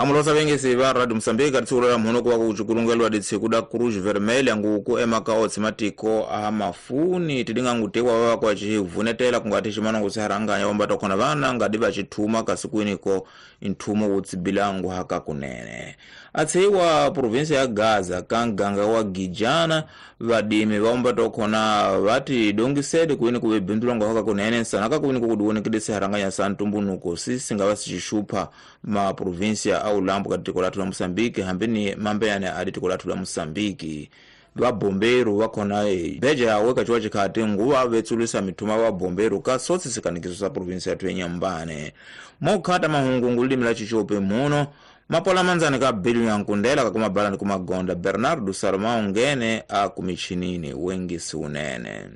Amulosa vengesi va Radio Mozambique ka tshiku la mhono kuva ku cukulungeliwa ditshiku da Cruz Vermelha nguku emaka otsi matiko a mafuni tidinga ngutekwa va kwa chivunetela kungati chimano kusiharanganya vamba tokhona vana ngadi va chithuma kasikwiniko nthumo wutsibilangu haka kunene. Atseiwa provinsi ya Gaza ka nganga wa Gijana vadimi vaomba tokhona vati dongisede kuini kuve bindulangu haka kunene sanaka kuini kukudiwonekede siharanganya sa ntumbunuko sisi ngava sichishupha ma provinsia au lambu katiko lathu la Mozambique hambini mambeyane adi tiko lathu la Mozambique. Vabomberu vakhona beja yawe kachiwa chikhati nguva vetsulisa mithuma vabomberu ka sotsi sikanikiso sa provinsi yathu yenyambane. Mokhata mahungungu lilimi la chichope muno mapola manzani ka bilu ya nkundela kakumabalani kumagonda Bernardo Salomão ngene akumichinini wengisi unene.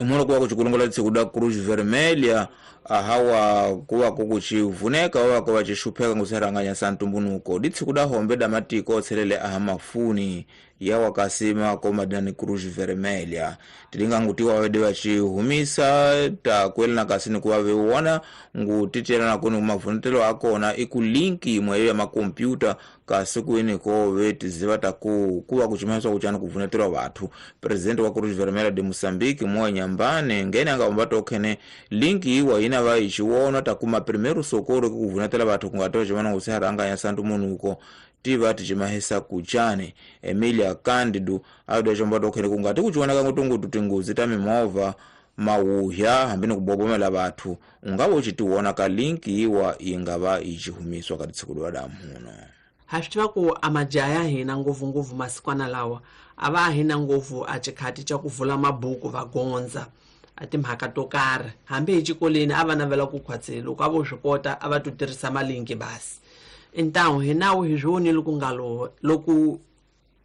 Umulo kuwa kuchikulungola tsikuda Cruz Vermelha ahawa kuwa kukuchivuneka wawa kuwa chishupheka ngusiharanganya sa ntumbunuko ditsikuda hombe da matiko otselele aha mafuni yawa kasima komadani Cruz Vermelha tilinga ngutiwa wede vachihumisa takwelana kasini kuwa veuona ngutitelana kuni kumavunetelo akona iku linki imwe ya makompyuta kasi kuiniko vetiziva taku kuwa kuchimanyiswa kuchani kuvunetelwa vathu. Presidente wa Cruz Vermelha de Mozambique Moa Nyambane ngene angamba tokhene linki iwa ina vaichiwona takuma primeiro socorro kuvunetela vathu kungatoa chimana ngusiharanganya sa ntumbunuko tiva tichimahisa kuchani. Emilia Candido adoda chomba tokhene kungati kuchioneka ngutungutu tingozi ta mimovha mauhya hambini kubobomela vathu ungava uchitiwona ka linki iwa ingava ichihumiswa ka tsiku lwa damuno. Ha swi tiva ku a majaha ya hina ngopfungopfu masikwana lawa a va hina ngopfu a xikhati xa ku vula mabuku va gondza a timhaka to karhi hambi hi xikolweni a va navela ku khwatsela loko a vo swi kota a va to tirhisa malinki basi. Então hi nawu hi swi vonile ku nga loko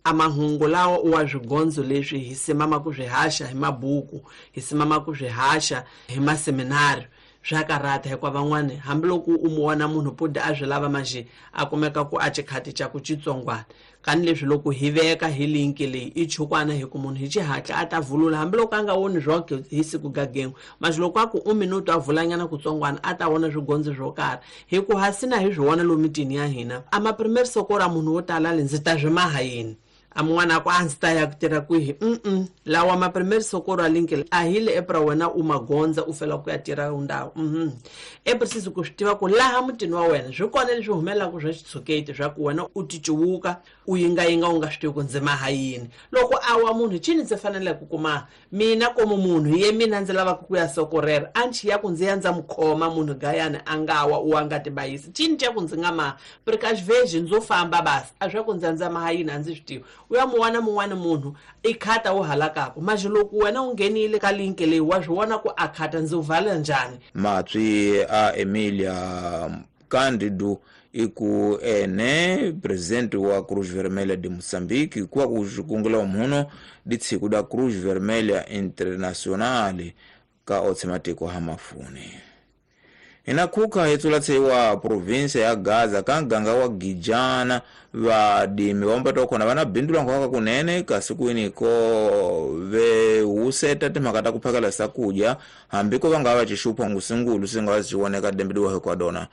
a mahungu lawa wa swigondzo leswi hi simama ku swi haxa hi mabuku hi simama ku swi haxa hi maseminari swa karata hikuva van'wani hambiloko u mu vona munhu puda a swi lava manjhe a kumeka ku a xikhati xa ku xitsongwana kani leswi loko hi veka hi linki leyi i chukwana hi ku munhu hi xihatla a ta vulula hambiloko a nga voni swoke hi siku gagengo manjhe loko a ku u minuto a vulanyana kutsongwana a ta vona swigondzo swo karhi hi ku hasina hi swi vona lomu mitini ya hina a maprimaire sokora munhu wo tala le ndzi ta swi maha yini a mun'wana a ku a ndzi ta ya ku tirha kwihi lawa maprimaire sokoro a linki a hi le epra wena u magondza u fela ku ya tirha ndhawu epri ku swi tiva ku laha mutini wa wena swi kona leswi humelelaka swa xitshuketi swa ku wena u ticuwuka u yingayinga u nga swi tivi ku ndzi maha yini loko a wa munhu cini ndzi faneleke ku kuma mina komu munhu ye mina ndzi lavaka ku ya sokorera a nchi ya ku ndzi ya ndza mu khoma munhu gayani a nga wa u a nga tibayisi cini xa ku ndzi nga maha precaution ndzo famba basi a swa ku ndzi ya ndza maha yini a ndzi swi tivi u ya muwana mun'wana munhu i khata wu halakaku manjhe loko wena u nghenile ka linki leyi wa swi vona ku a khata ndzi wu vala njhani. Matswi a Emilia Candido iku ene presidente wa Cruz Vermelha de Mozambique kuwa kuxikungula muno ditshiku da Cruz Vermelha Internacional ka otse matiko ha mafuni. Inakhuka hetsula tseiwa provinsia ya Gaza ka nganga wa Gijana vadimi vaomba tokhona vana bindula nkhwaka kunene kasi kwiniko vehuseta timhaka ta ku phakela sakudya hambi ko va nga va xixupha ngusingulu swi nga va swi voneka dembediwa hikwadona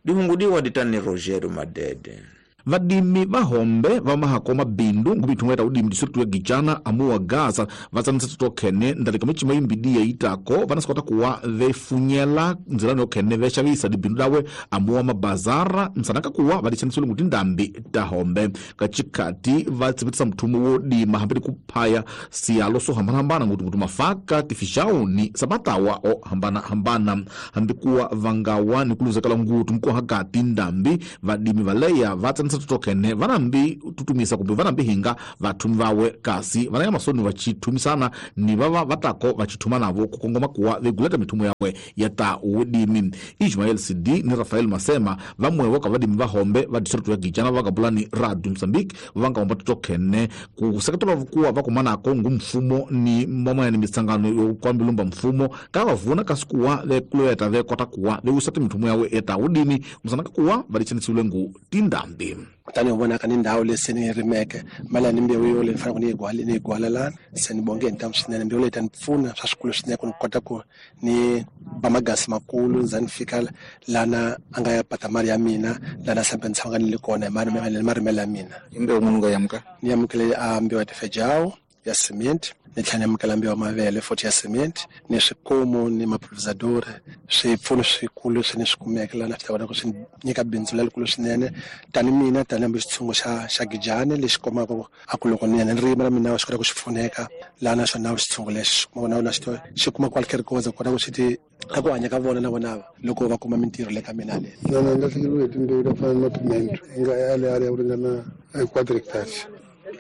dihungudiwa ditani Rogerio Madede. Vadimi vahombe va mahako mabindu ngumithungo ya udimi district ya Gijana amuwa Gaza vatsanisa tokhene ndalika michima imbidiya itako vanasikota kuwa vefunyela nzilano yokhene vexavisa dibindu dawe amuwa mabazara nsanaka kuwa vadixanisile nguti ndambi ta hombe kachikati vatsivitisa mthumo wo dima hambili kuphaya siyalo swo hambanahambana nguti nguti mafaka tifixauni sabatawa o hambanahambana hambi kuwa vangawa ni kuluzekela nguti mkuhakati ndambi vadimi valeya vatsanisa tokene vanambi tutumisa kumbe vanambi hinga vathumi vawe kasi vanaya masoni vachithumisana ni vava vatako vachithuma navo kukongoma kuwa veguleta mithumo yawe ya ta udimi. Ismael CD ni Rafael Masema vamwevo ka vadimi vahombe va district ya Gijana vakapulani Radio Mozambique vangahomba tokene kuseketela kuwa vakumanako ngumfumo ni mamwena ni mitsangano yo kwambilumba mfumo ka vavuna kasi kuwa vekuleta vekota kuwa veusata mithumo yawe ya ta udimi musanaka kuwa vadichanisiwile ngu tindambi. Kutani u vonaka ni ndhawu leyi se ni yi rimeke mali ni mbewu yo leyi ni faneleke ni yi gwala lana se ni bonge hi ntamu swinene. Mbewu leyi ta ni pfuna swa swikulu swinene ku ni kota ku ni ba magasi makulu za ni fika lana a nga ya pata mali ya mina lana sambe ni tshama ni le kona hi marimelo ya mina. I mbewu munhu nga yamuka? Ni yamukele a mbewu ya tifejawu ya cement, ni tlhela ni amukela mbewu ya mavele futhi ya cement, ni swikomu ni mapulverisador. Swipfuno swikulu leswi ni swi kumeke lana swi ta kota ku swi nyika bindzu lerikulu swinene tani mina tani hambi xitshungu xa Gijani lexi komaka a ku loko ni ya ni rima na mina swi kota ku xi pfuneka laha naswona xitshungu lexi na xi kuma kwale ku kota ku swi ti a ku hanya ka vona na vona loko va kuma mintirho le ka mina le. Na ni lahlekeriwe hi timbewu ta fana na mapimento yi nga yale ya ku ringana 4 hectares.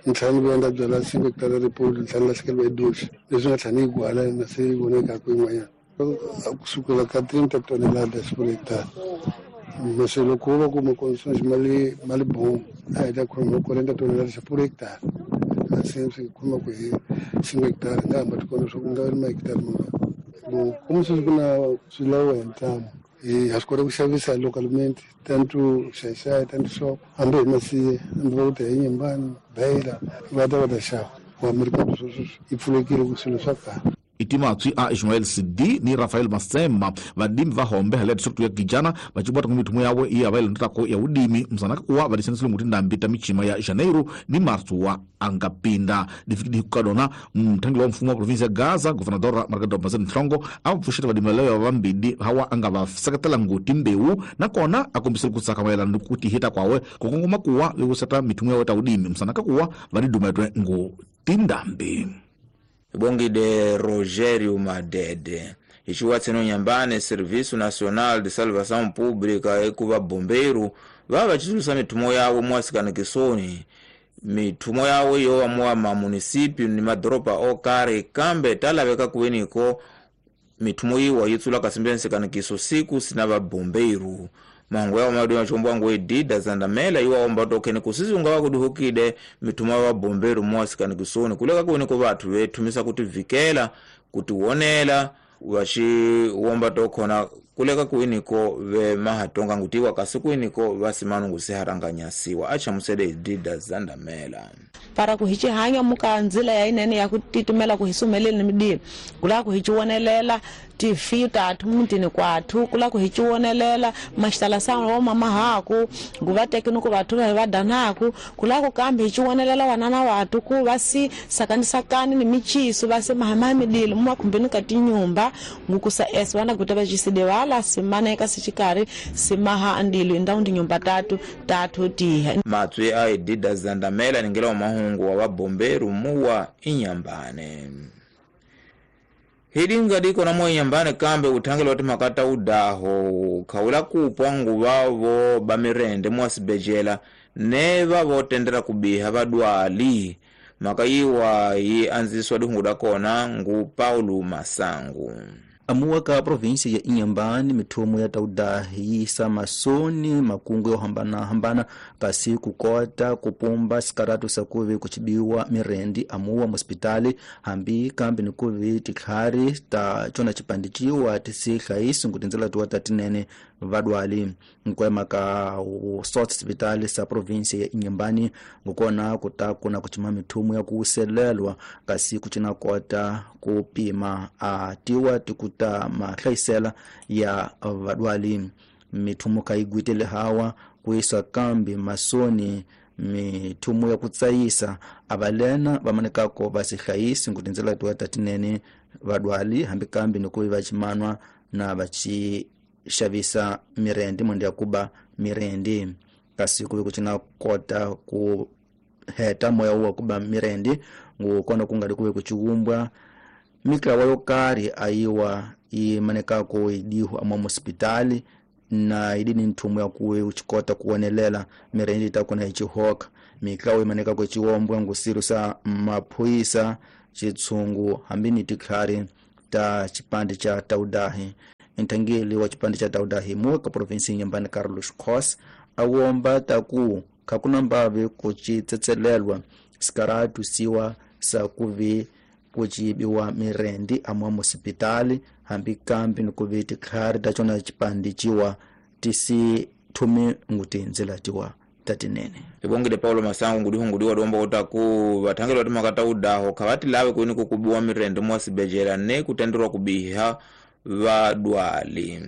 Ni tlhela ni vuya ni ta byala 5 hectare ripulu, ni tlhela ni lahlekeriwa hi doxi leswi nga tlhela ni yi gwala na se yi voneka ku yin'wanyana kusukela ka 30 toneladas por hectare. Mase loko va kuma conditions mali bon a hi ta khoma 40 toneladas por hectare. Se swi khoma ku hi 5 hectare nga hamba tikona swa ku nga ri mahectare mangani. Bon como sweswi ku na swilawo hi ntamu ha swi kota ku xavisa localmente tanto xaxaya tanto shop hambi hi masiye hambi va ku ta hi Nyimbani Beira va ta va ta xava wa merikado sweswo yi pfulekile ku swilo swa kahle. Itimatswi a Ismael Sidi ni Rafael Masema vadimi va hombe hale district ya Gijana vachibwata ku mithumo yawe iya va ilondotako ya udimi msanaka kuwa vadisanisile nguti ndambi ta michima ya Janeiro ni Março wa angapinda difikidi hukadona mthangeli wa mfumo wa provinsi ya Gaza Governador Margarida Mazeni Nhlongo a pfuxeta vadimi leyo vambili hawa anga va seketela nguti mbewu nakona a kombisile ku tsaka mayelana ni ku tihita kwawe ku kongoma kuwa vekuseta mithumo yawe ta udimi msanaka kuwa vadidumetwe nguti ndambi. Bongide Rogério Madede. Ichiwatseno Nyambane Serviço Nacional de Salvação Pública ekuva bombeiro vava chitulusa mithumo yawo mwasikanikisoni mithumo yawo yowa mwa mamunisipio ni madoropa okare kambe talaveka kuweniko mithumo iwa yitsula kasimbe nsikanikiso siku sina vabombeiro mangu yawo madu machombo angu edida zandamela iwa omba tokene kusisi ungawa kuduhukide mithumo ya vabombeiro mwasikanikisoni kuleka kuweniko vathu vethumisa kuti vikela kuti wonela vachiwomba tokhona kuleka kuiniko ve mahatonga ngutiwa kasi kuiniko vasimanu ngusiharanganyasiwa achamusele edida zandamela. Para ku hi hanya muka nzila ya inene ya ku titimela ku hi sumeleni midini kula ku hi chiwonelela tifi tathu mutini kwathu kula ku hi chiwonelela maxitala sa wa mama haku nguva teke ku vathu va danaku kula ku kambe hi chiwonelela wanana watu ku va si sakanisakani ni michiso va se mahama midilo mu makhumbeni ka tinyumba ngukusa s vana guta va chiside wala simana eka sichikari simaha andilo indau ndi nyumba tatu tatu tiha. Matswi a edida zandamela ningela mahungu wa vabomberu muwa Inyambane. Hidinga diko na mwa Inyambane kambe uthangela wati makata udaho khawula kupwa nguvavo bamirende mwasibejela ne vavotendera kubiha vadwali makayiwa yi anziswa dihungu dakona ngu Paulo Masangu. Amuwa ka provinsi ya Inhambane mithumo ya taudahi yisa masoni makungu yo hambana hambana kasi kukota kupumba sikaratu sakuvi kuchibiwa mirendi amuwa muspitali hambi kambi nikuvi tikhari ta chona chipandichiwa tisihlaisi nkutinzela tuwa tatinene vadwali nkwema ka sot sipitali sa provinsi ya Inhambane ngukona kutakuna kuchima mithumo ya kuselelwa kasi kuchina kota kupima atiwa tikuta mahlayisela ya vadwali mithumo kaigwitele hawa kuisa kambi masoni mithumo ya kutsayisa avalena vamanekako vasihlayisi nkutinzela tuwa tatinene vadwali hambi kambi nikuvi vachimanwa na vachi xavisa mirendi mwende ya kuba mirendi kasi kuve kuchina kota ku heta moya uwa kuba mirendi ngukona kungali kuve kuchiumbwa miklawa yokari ayiwa imanekako idihu amwa muspitali na idini nthumo ya kuwe uchikota kuonelela mirendi itakuna ichihoka miklawa imanekako ichiwombwa ngusiru sa maphuisa chitsungu hambini tikhari ta chipande cha taudahi. Nthangeli wa chipande cha taudahi muka provinsi Inhambane Carlos Cos awomba taku khakuna mbave kuchitsetselelwa sikaratu siwa sa kuvi kuchibiwa mirendi amwa musipitali hambi kambi nikuvi tikhari ta chona chipande chiwa tisi thumi ngutinzela tiwa tatinene. Ibongile Paulo Masango ngudihungudiwa domba utaku vathangeli va timhaka ta udaho kha va ti lave kwini ku kubiwa mirende mwa sibejela ne kutenderwa kubiha vadwali.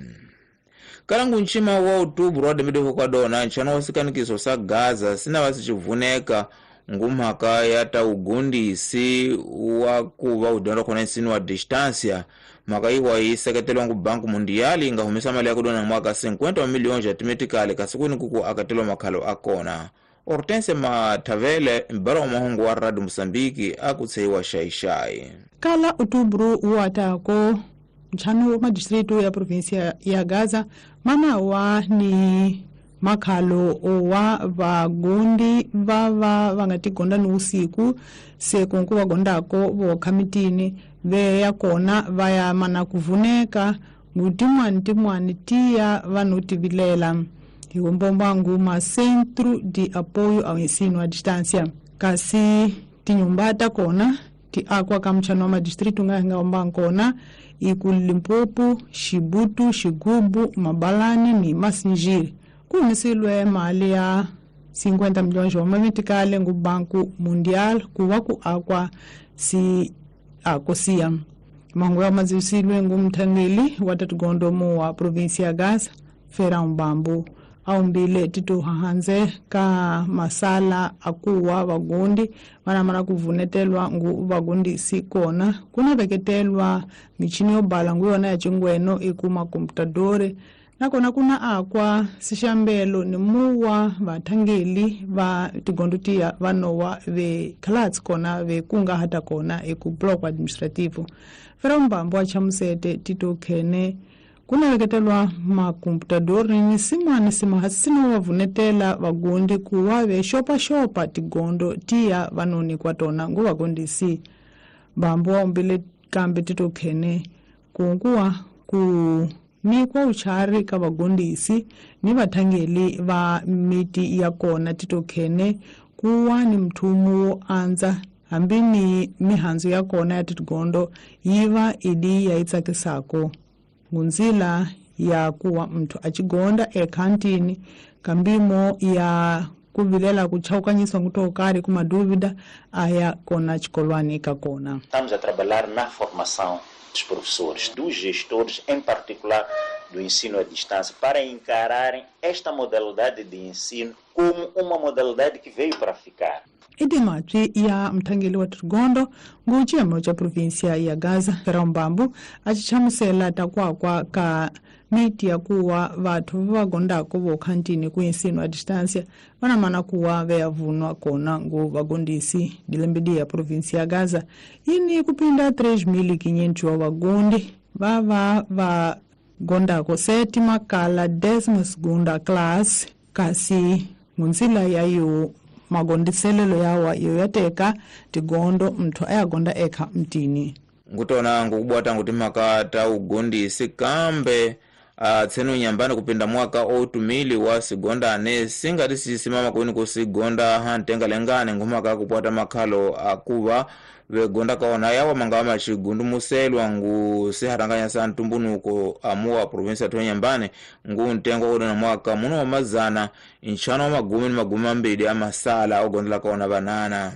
Kalangu nchima wa outubro wa dembedeho kwa dona nchano wa sikanikiso sa Gaza sina vasicivuneka ngumhaka ya ta ugundisi wa kuva udyondza khona nsino wa distância. Mhaka iwa yi seketelwa ngu Banku Mundiali inga humesa mali ya kudona mwaka 50 milhões ya timetikali kasi kwini kuku akatelwa makhalo akona. Hortense Matavele mbara wa mahungu wa Radio Mosambiki akutseiwa xaixai. Kala outubro watako ntlhanu wa madistritu ya provinsia ya Gaza manawa ni makhalo wa vagondi vava va nga tigonda ni usiku se kunku va gondako vokha mitini veya kona va ya mana kuvuneka ngutin'wani tin'wani tiya vanhu tivilela hi mbomba nguma Centro de Apoio ao Ensino à Distância kasi tinyumba ta kona ti akwa ka mchano wa madistritu nga nga omba kona iku Limpopo, Xibutu, Xigubu, Mabalani ni Masinjiri. Kuhumisilwe mali ya 50 milhões wa mamitikale ngu Banku Mundial kuwa ku akwa si akosia. Mangu ya mazisilwe ngu mthangeli wa tatugondo mu wa provinsia ya Gaza, Ferão Bambu. Aumbile titu hahanze ka masala akuwa vagundi vanamana kuvunetelwa ngu vagundi sikona kuna veketelwa michini yo bala ngu yona ya chingweno ikuma komputadore nakona kuna akwa sixambelo ni muwa vathangeli va tigondo tiya vanowa ve khalatsi kona ve kunga hata kona eku bloco administrativo. Ferão Bambu a chamusete tito khene kuna veketelwa makomputador ni simani simahasino wavunetela vagundi kuwa ve xopaxopa tigondo tiya vanoni kwa tona ngu vagondisi. Bambu waombile kambe tito khene kunkuwa ku nikwa uchari ka vagondisi ni vathangeli va miti ya kona tito khene kuwa ni mthumu wo andza hambi ni mihandzu ya kona ya tigondo yiva idi ya itsakisako ngunzila ya kuwa mthu acigonda ekhantini kambimo ya kuvilela kuchaukanyiswa ngutokari kumadúvida aya kona xikolwani ka kona. Estamos a trabalhar na formação dos professores, dos gestores, em particular do ensino à distância, para encararem esta modalidade de ensino como uma modalidade que veio para ficar. Idimatwi ya mthangeli wa tigondo ngu ciyemo ca provinsia ya Gaza Ferão Bambu acichamusela takwakwa ka miti ya kuwa vathu va gondako vokhantini ku ensino a distância vanamana kuwa veyavunwa kona ngu vagondisi dilembedi ya provinsia ya Gaza yini kupinda 3.500 wa vagondi vava va gondako sétima kala 12ª classe kasi ngunzila yayo magondiselelo yawa iyo yateka tigondo mthu ayagonda ekha mtini. Ngutona ngukubwata nguti mhaka ta ugondisi kambe tsenu nyambani kupinda mwaka 2000 wa sigondane singati sisimama kwini kusigonda hantenga lengane ngumhaka kupwata makhalo akuva vegonda kaona yawa mangava macigundumuselwa ngu siharanganya sa ntumbunuko amuwa provinsia ya nyambani ngu ntengo udona mwaka muno wa mazana nchano wa magumi ni magumi mambili amasala ogondela kaona vanana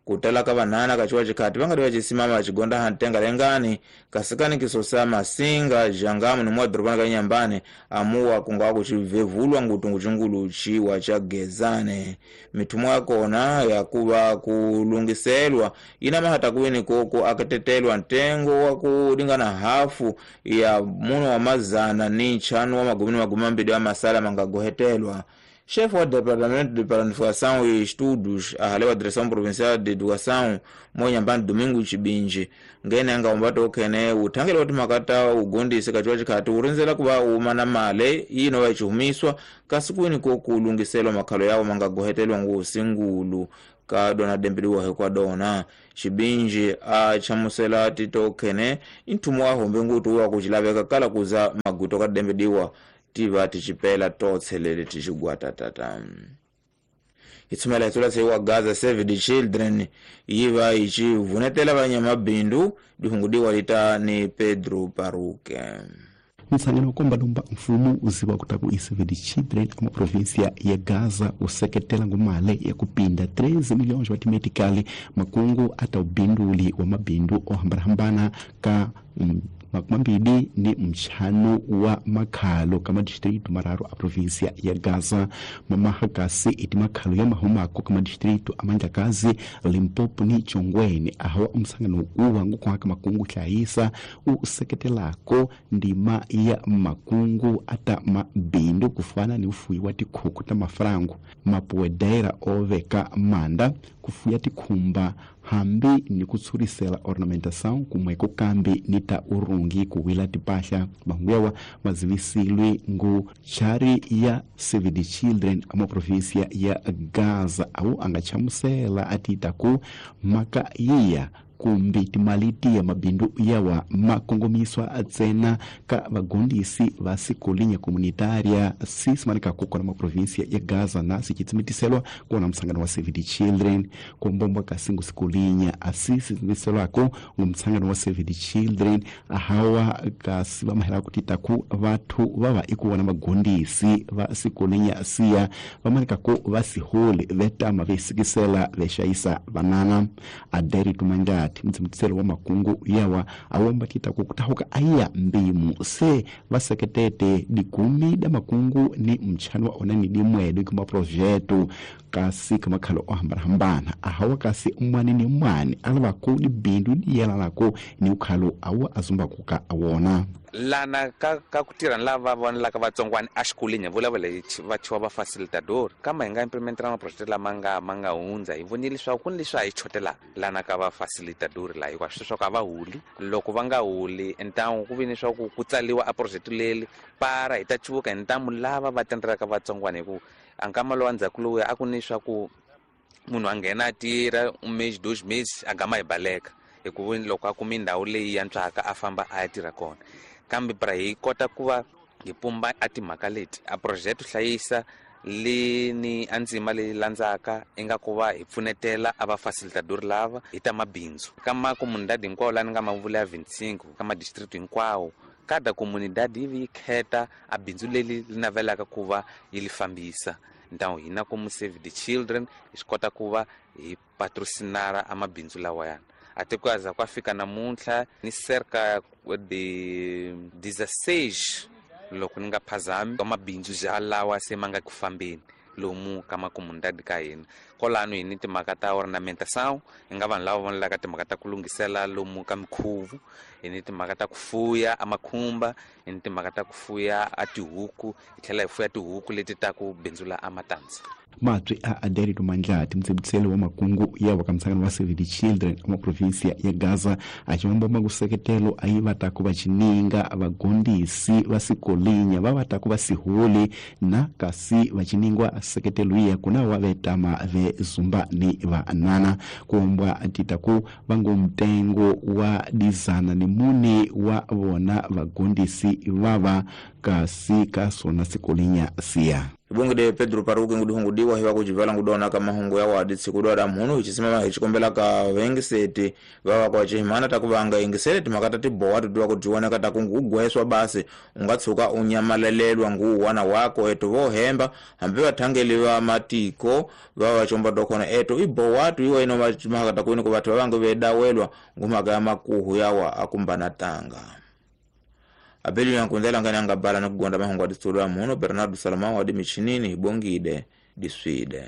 kutala ka vanana kachiwa chikhati vangati vacisimama vacigonda hantenga lengani kasikani kisosa masinga jangamu ni mwadorobani ka nyambani amuwa kungawa kucivevulwa ngutungu cingulu ciwa ca gezane. Mithumo yakona yakuva kulungiselwa ina mahata kuwini koko akatetelwa ntengo wa kulingana hafu ya muno wa mazana ni nchanu wa magumi ni magumi mambili amasala mangagohetelwa. Chefe wa Departamento de Planificação e Estudos, ahalewa Direção Provincial de Educação, Monhambani Domingo Chibinji, ngene anga umbato okhene uthangela kuti makata ugondise kachiwa chikhati urinzela kuva uma na male ino vachihumiswa kasi kwini kokulungiselwa makhalo yawo mangagohetelwa ngusingulu ka dona dembeliwa hekwa dona. Chibinji achamusela tito okhene inthumu wahombe nguti wa kuchilaveka kala kuza maguto ka dembeliwa tiva tichipela totselele tichigwata tata. Itsumela itsula tseiwa Gaza Save the Children yiva ichivunetela vanyamabindu dihungudiwa lita ni Pedro Paruke. Msangano komba lumba mfumo uziwa kutaku isevedi children ama província ya Gaza useketela ngumale ya kupinda 13 milhões wa timetikali makungu ata ubinduli wa mabindu ohambarahambana ka makumambili ni mchano wa makhalo kama distrito mararu a província ya Gaza. Mamahakasi iti makhalo ya mahumako kama distrito amandlakazi Limpopo ni Chongweni ahawa umsangano uwa ngukuhaka makungu hlayisa useketelako ndima ya makungu ata mabindu kufana ni ufuyi wa tikhuku ta mafrangu mapuwedera oveka manda kufuya tikhumba hambi ni kutsurisela ornamentação kumwe kukambi ni ta urungi kuwila tipahla. Mahungu mazivisilwe ngu chari ya Save the Children ama província ya Gaza au angachamusela atitaku maka yiya kumbi timaliti ya mabindu yawa makongomiswa atsena ka vagondisi va sikolinya komunitaria sisimanika kukona ma província ya Gaza na sichitsimitiselwa kuona msangano wa Save the Children. Kombombwa kasingu sikolinya asisitsimitiselwako ngumsangano wa Save the Children ahawa kasi vamahela kutitaku vathu vava ikuona magondisi va sikolinya siya vamanikako vasiholi vetama vesikisela vexayisa vanana. Aderi tumanja mtsimitselo wa makungu yawa awomba tita kutahuka aya mbimu se vaseketete dikumi da makungu ni mchano wa onani dimwedu kuma projeto kasi kamakhalo ohambarahambana ahawa kasi umwani ni mwani alavaku ni bindu diyela lako ni ukhalo awa azumba kuka awona lana ka ku tirha ni lava vonelaka vatsongwana exikolweni vulavula hi va thiwa va facilitador kama hi nga implementela maproject lama nga hundza hi vonile leswaku ku ni leswi a hi chotelaka lana ka va facilitador laha hikuva swi leswaku a va huli loko va nga huli ntamu ku vi ni leswaku ku tsaliwa a project leli para hi ta cuvuka hi ntamu lava va tendelaka vatsongwana hi ku a nkama lowa ndzhaku lowuya a ku ni leswaku munhu a nghena a tirha un mês 2 meses a gama hi baleka hikuva loko a kumi ndhawu leyi yantswaka a famba a ya tirha kona. Kambe pra hi kota ku va hi pumba a timhaka leti a project hlayisa leni a ndzima leyi landzaka i nga ku va hi pfunetela a va facilitador lava hi ta mabindzu ka makomunidadi hinkwawo laha ni nga mavula ya 25 ka madistrict hinkwawo kada komunidadi yi vi yi kheta a bindzu leri li navelaka ku va yi li fambisa. Ntawu hina komu Save the Children hi swi kota ku va hi patrocinara a mabindzu lawayana. Até quase kwa fika namuntlha ni cerca de 16 loko ni nga phazami mabindzu ja lawa se ma nga ku fambeni lomu ka makomunidadi ka hina. Kwalano hi ni timhaka ta ornamentação hi nga vanhu lava vonelaka timhaka ta ku lunghisela lomu ka mikhuvu, hi ni timhaka ta ku fuya amakhumba, hi ni timhaka ta ku fuya a tihuku, hi tlhela hi fuya tihuku leti ta ku bindzula a matandza. Matswi a Aderi Tumandlati mtsibitselo wa makungu yawa ka msangano wa Save the Children ama província ya Gaza achiwomba makuseketelo ayivatako vachininga vagondisi vasikolinya vavatako vasiholi na kasi vachiningwa seketelo iya kuna wavetama vezumba ni vanana kuombwa titaku vangu mtengo wa dizana ni mune wa vona vagondisi vava kasi kasona sikolinya siya. Ibungide Pedro Paruke nguduhungudiwa hiwa kujivala ngudona kama hungu ya wadi sikudwa mhunu hichisimama hichikombela ka wengiseti vawa kwa chihimana takuvanga ingisele timakata tibowa tudiwa kutiwana kata kungugweswa basi ungatsuka unyamalelelwa ngu wana wako etu vohemba hambi vathangeli matiko vawa chomba dokona etu ibowa tu iwa ino makata kuini kuvathu vavange vedawelwa ngumaka ya makuhu yawa akumbana tanga. Abeli yankundela ngani angabala nokugonda mahungu adisitulwa muno Bernardo Salomão adi michinini ibongide diswide.